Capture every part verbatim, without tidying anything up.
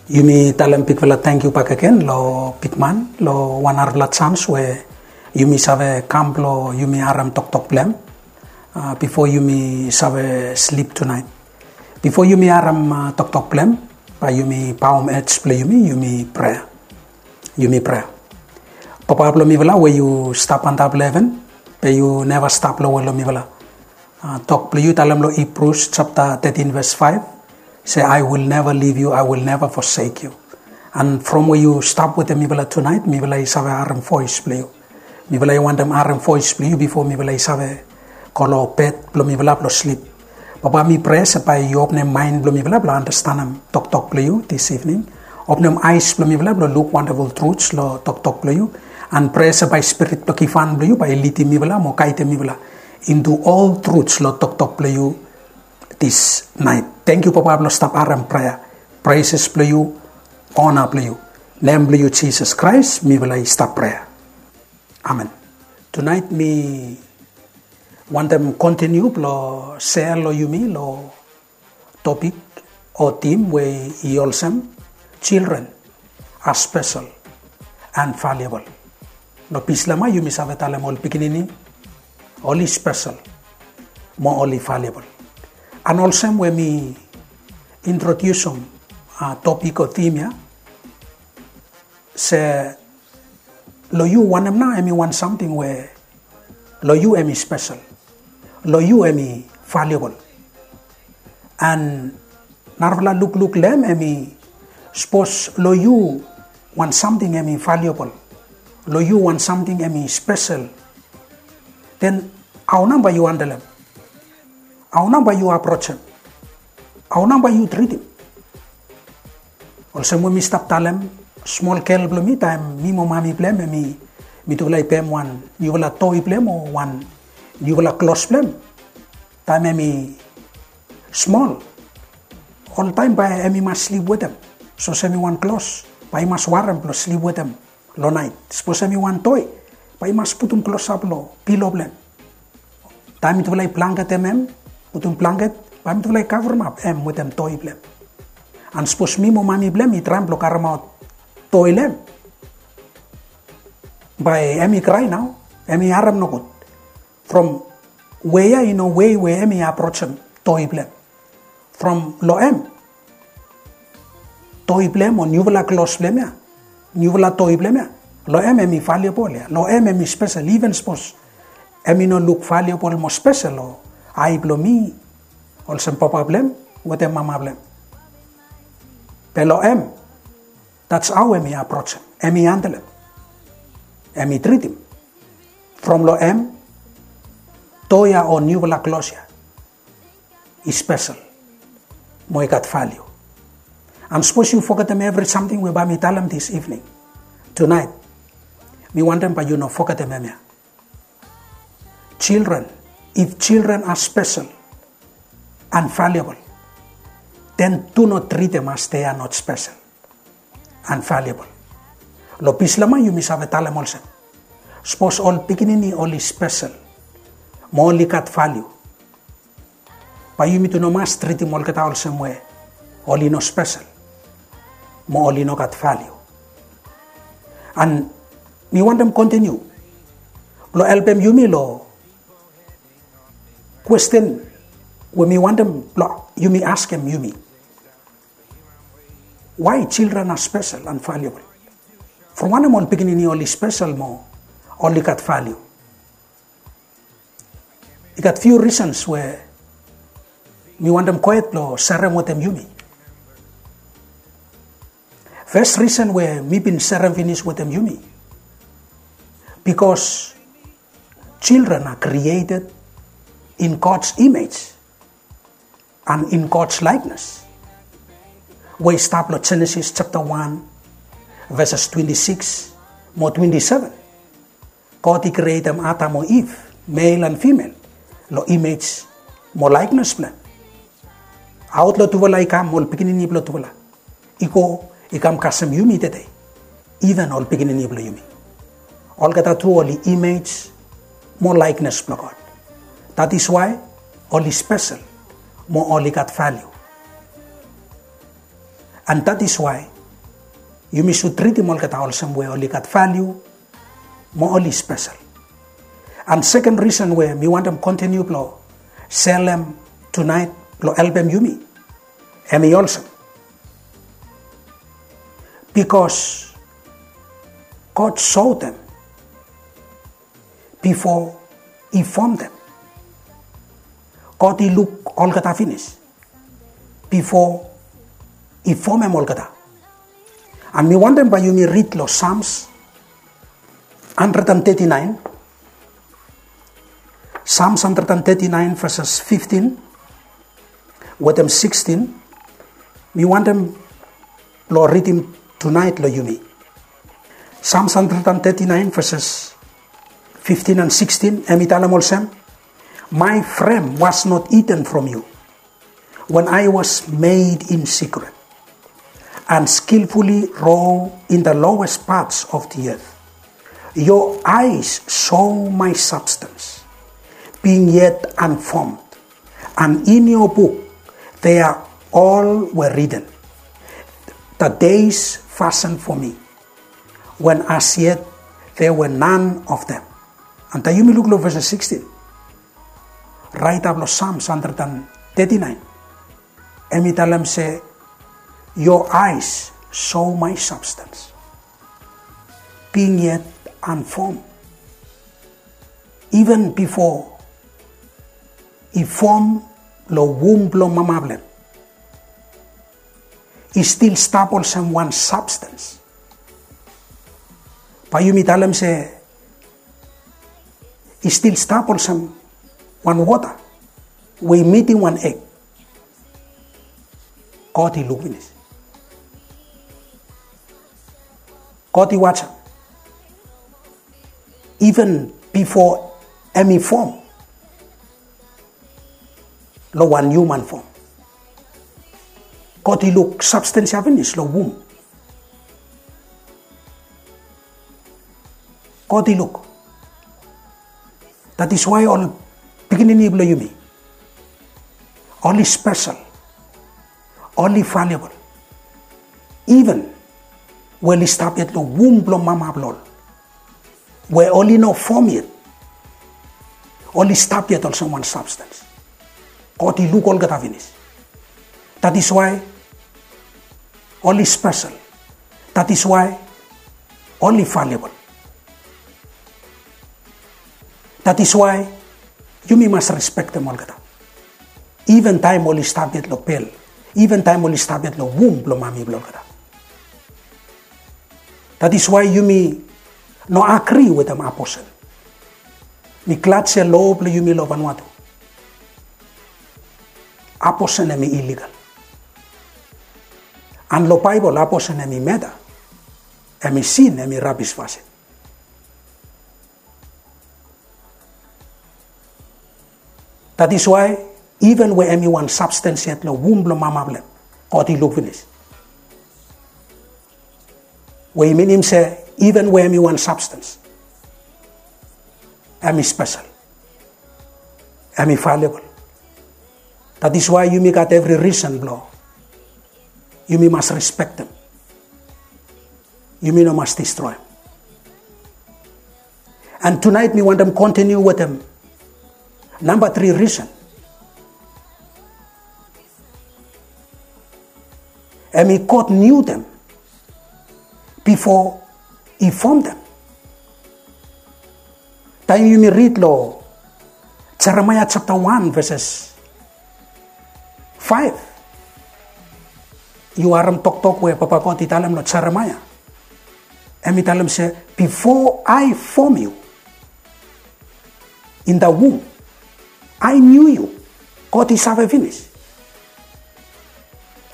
Yumi talem bigfala tangkiu bakegen lo bigman lo wan narafala jans we yumi save kam blo yumi harem toktok blong hem, bifo yumi save slip tunaet. Bifo yumi harem toktok blong hem, bae yumi baom ej blong yumi, yumi prea. Yumi prea. Papa blong mifala we yu stap antap long heven, be yu neva stap lowe long mifala. Tok blong yu talem long Hibrus japta tetin ves faef se, "I will never leave you, I will never forsake you." An from we yu stap wetem mifala tunaet, mifala i save harem voes blong yu. Mifala i wantem harem voes blong yu bifo mifala i save go long bed blong mifala blong slip. Papa, mi prea se bae yu openem maen blong mifala blong andastanem toktok blong yu dis ivning. Openem aes blong mifala blong luk wandaful truts long toktok blong yu. An prea se bae spirit blong givhan blong yu bae i lidim mifala mo gaedem mifala into ol truts long toktok blong yu dis naet. Tangkiu Papa blong stap harem prea. Preses blong yu, ona blong yu. Nem blong yu Jisas Kraes mifala i stap prea. Amen. Tunaet mi wantem kontiniu blong sea long yumi long topik o tim we i olsem, children are special and valuable. Long Bislama yumi save talem ol pikinini oli spesel mo oli valuable. An olsem we mi introdiusim topik o tim ya, se long yu wanem nao hem i wan samting we long yu hem i spesel, long yu hem i valuable. An narafala lukluk long hem hem i, sapos long yu wan samting hem i valuable, long yu wan samting hem i spesel, den hao nao bae yu handlem? Hao nao bae yu aprojem? Hao nao bae yu tritim? Olsem we mi stap talem, smol gel blong mi, taem mi mo mami blong hem hem i, mitufala i pem wan niufala toi blong hem o wan niufala klos blong hem taem hem i smol, oltaem bae hem i mas slip wetem. Sapos hem i wan klos, bae i mas warem blong slip wetem long naet. Sapos hem i wan toi, bae i mas putum klosap long pilo blong hem. Taem mitufala i blanketem hem, putum blanket, bae mitufala i kavremap hem wetem toi blong hem. An sapos mi mo mami blong hem i traem blong karemaot toi long hem, bae hem i krae nao, hem i harem nogud. From we ya i no wei we hem i aprojem toi blong hem. From long hem, toi blong hem o niufala klos blong hem ya, niufala toi blong hem ya, long hem hem i valuable ya, long hem hem i spesel, iven sapos hem i no luk valuable mo spesel long ae blong mi olsem papa blong hem wetem mama blong hem. Be long hem, that's how hem i aprojem, hem i handlem, hem i tritim. From long hem, toi ya o niufala klos ya i spesel mo i gat valiu. An sapos yu fogetem evri samting we bae mi talem dis ivning, tunaet, mi wantem bae yu no fogetem hemia. Children, if children are special and valuable, then do not treat them as they are not special and valuable. Long Bislama yumi save talem olsem, sapos ol pikinini oli spesel mo oli gat valiu, bae yumi tu no mas tritim olgeta olsem we oli no spesel mo oli no gat valiu. An mi wantem kontiniu blong helpem yumi long kwesten we mi wantem blong yumi askem yumi. Why children are special and valuable? From wanem ol pikinini oli spesel mo oli gat valiu? I gat few reasons we mi wantem gohed blong serem wetem yumi. First reason we mi bin serem finis wetem yumi, because children are created in God's image and in God's likeness. We i stap long Genesis japta wan, veses twenti sikis mo twenti seven. God i krietem Adam o Iv, male and female, long image mo likeness blong hem. Aot long tufala i kam ol pikinini blong tufala, i go i kam kasem yumi tede, iven ol pikinini blong yumi. Olgeta tu oli image mo likeness blong God. That is why oli spesel mo oli gat valiu. And that is why Yumi sud tritim olgeta olsem we oli gat valiu mo oli spesel. An seken risen we mi wantem kontiniu blong selem tunaet blong helpem yumi, hemi olsem, bikos God sotem bifo i fomtem. God i luk olgeta finis bifo i fomem olgeta. An mi wantem bae yumi rid long Psalms hundred and thirty-nine. Psalms hundred and thirty-nine, verses fifteen wetem sixteen. Mi wantem blong ridim tunaet long yumi. Psalms hundred and thirty-nine, verses fifteen and sixteen, hemi talem olsem, "My frame was not hidden from you when I was made in secret and skillfully wrought in the lowest parts of the earth. Your eyes saw my substance, being yet unformed, and in your book they are all were written, the days fashioned for me, when as yet there were none of them." An taem yumi luk long ves sixteen, raeta blong Psalms hundred and thirty-nine, hemi talem se, "Your eyes saw my substance, being yet unformed." Even bifo i fom long wum blong mama blong hem, i stil stap olsem wan substance. Bae yumi talem se i stil stap olsem wan wota we i mitim wan eg. God i luk finis. God i wasem. Even bifo hemi fom long wan hiuman fom, God i luk substance ya finis long wum. God i luk. That is why ol pikinini blong yumi, oli spesel, oli valuable. Even we oli stap yet long wum blong mama blong ol, we oli no fom yet, oli stap yet olsem wan substance. God i luk olgeta finis. That is why oli spesel. That is why oli valuable. That is why yumi mas respektem olgeta. Even taem oli stap yet long bel, even taem oli stap yet long wum blong mami blong olgeta. That is why yumi no agri wetem abortion. Mi glad se lo blong yumi long Vanuatu, abortion hemi illegal. An long Baebol, abortion hemi murder, hemi sin, hemi rabis fasin. That is why, even we hemi wan substance yet long wum blong mama blong hem, God i luk finis. We i minim se, even we hemi wan substance, hemi spesel, hemi valuable. That is why yumi gat evri risen blong yumi mas respektem. Yumi no mas distroem. An tunaet mi wantem kontiniu wetem namba tri risen. Hemi God knew them before he formed them. Taem yumi rid long Jeremaia japta wan, ves faef, yu harem toktok we Papa God i talem long Jeremaia. Hemi talem se, "Before I form you in the womb, I knew you." God i save finis.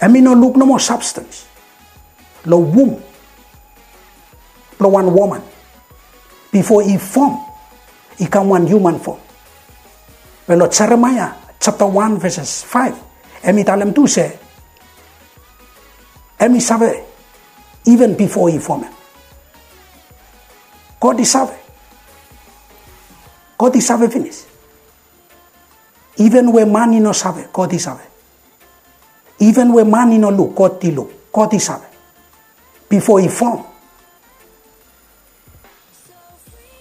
Hemi no luk nomo substance long wum blong wan woman bifo i fom, i kam wan hiuman fom. Be long Jeremaia japta wan, ves faef, hemi talem tu se hemi save, even bifo i fomem. God i save. God i save finis. Even we man i no save, God i save. Even we man i no luk, God i luk, God i save. bifo i fom.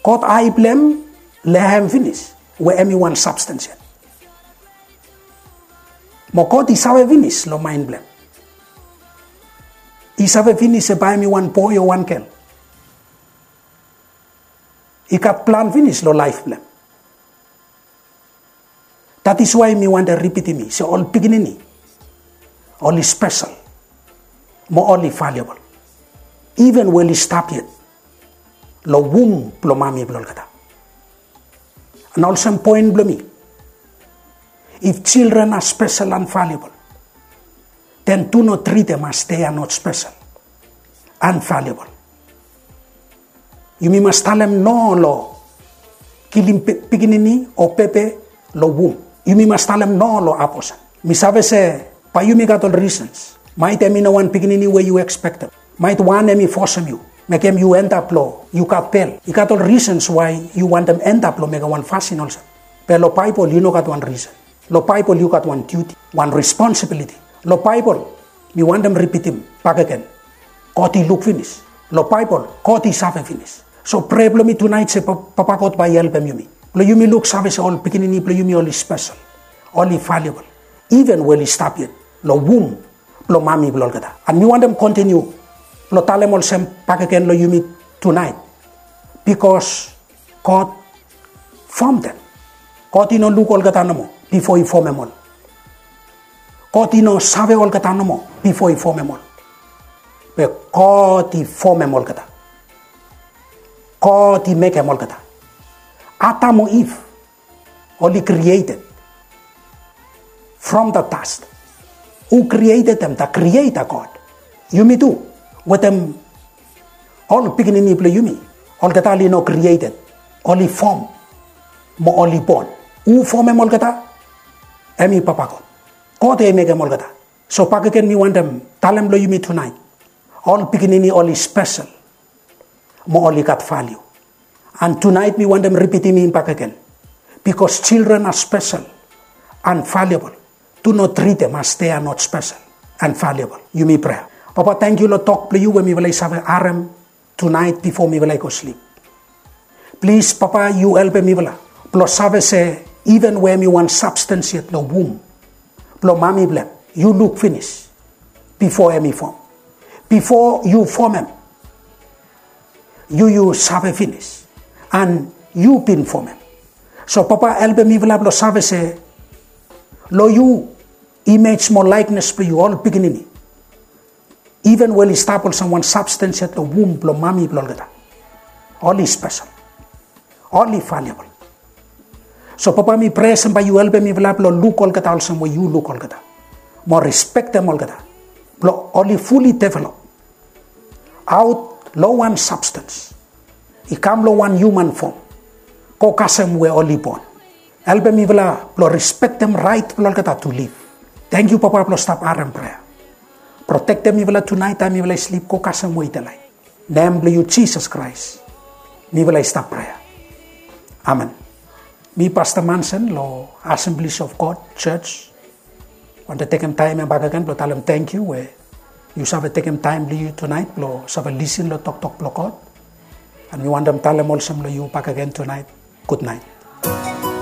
God ae blong hem lehem finis we hem i wan substance yet. Mo God i save finis long mind blong hem. I save finis se bae hem i wan boe o wan gel. I gat plan finis long laef blong hem. That is why mi wantem ripitim se ol pikinini oli spesel mo oli valuable. Even we oli stap yet long wum blong mami blong olgeta. And olsem poen blong mi, if children are special and valuable, then do not treat them as they are not special and valuable. Yumi mas talem no long kilim pikinini o bebe long wum. Yumi mas talem no long abortion. Mi save se bae yumi gat ol reasons. Maet hem i no wan pikinini we yu expectem. Maet wan hem i fosem yu, mekem yu endap long yu gat bel. I gat ol reasons why yu wantem endap long mekem wan fasin olsem. Be long Baebol yu no gat wan reason. Long Baebol yu gat wan duty, wan responsibility. Long Baebol, mi wantem ripitim bakegen, God i luk finis. Long Baebol God i save finis. So prea blong mi tunaet se Papa God bae i helpem yumi blong yumi luksave se ol pikinini blong yumi oli spesel, oli valuable, even we oli stap yet long wum blong mami blong olgeta. And mi wantem kontiniu blong talem olsem bakegen long yumi tunaet, bikos God fomdem. God i no luk olgeta nomo bifo i fomem ol. God i no save olgeta nomo bifo i fomem ol. Be God i fomem olgeta. God i mekem olgeta. Adam o Iv oli created from the dust. Hu created them? The Creator God. Yumi tu, wetem ol pikinini blong yumi, olgeta oli no created, oli fom mo oli bon. Hu fomem olgeta? Hem i Papa God. God i mekem olgeta. So bakegen mi wantem talem long yumi tunaet, ol pikinini oli spesel mo oli gat valiu. And tunaet mi wantem ripitim hem bakegen, bikos children are special and valuable. Do not treat them as they are not special and valuable. Yumi prea. Papa, tangkiu long tok blong yu we mifala i save harem tunaet bifo mifala i go slip. Plis Papa, yu helpem mifala blong save se even we hem i wan substance yet long wum blong mami blong hem, yu luk finis bifo hem i fom. Bifo yu fomem, yu yu save finis, and yu bin fomem. So Papa, helpem mifala blong save se long yu, image mo likeness blong yu, ol pikinini, even we oli stap olsem wan substance yet long wum blong mami blong olgeta, oli spesel, oli valuable. So Papa, mi prea se bae yu helpem mifala blong luk olgeta olsem we yu luk olgeta, mo respektem olgeta, blong oli fully develop aot long wan substance i kam long wan human form, go kasem we oli bon. Helpem mifala blong respektem raet blong olgeta to live. Tangkiu Papa blong stap harem prea. Protektem mifala tunaet taem mifala i slip, go kasem we i delaet. Nem blong yu Jisas Kraes mifala i stap prea. Amen. Mi Pasta Manson long Assemblies of God Church wantem tekem taem ya bakegen blong talem tangkiu we yu save tekem taem blong yu tunaet blong save lisin long toktok blong God. And mi wantem talem olsem long yu bakegen tunaet, gutnaet.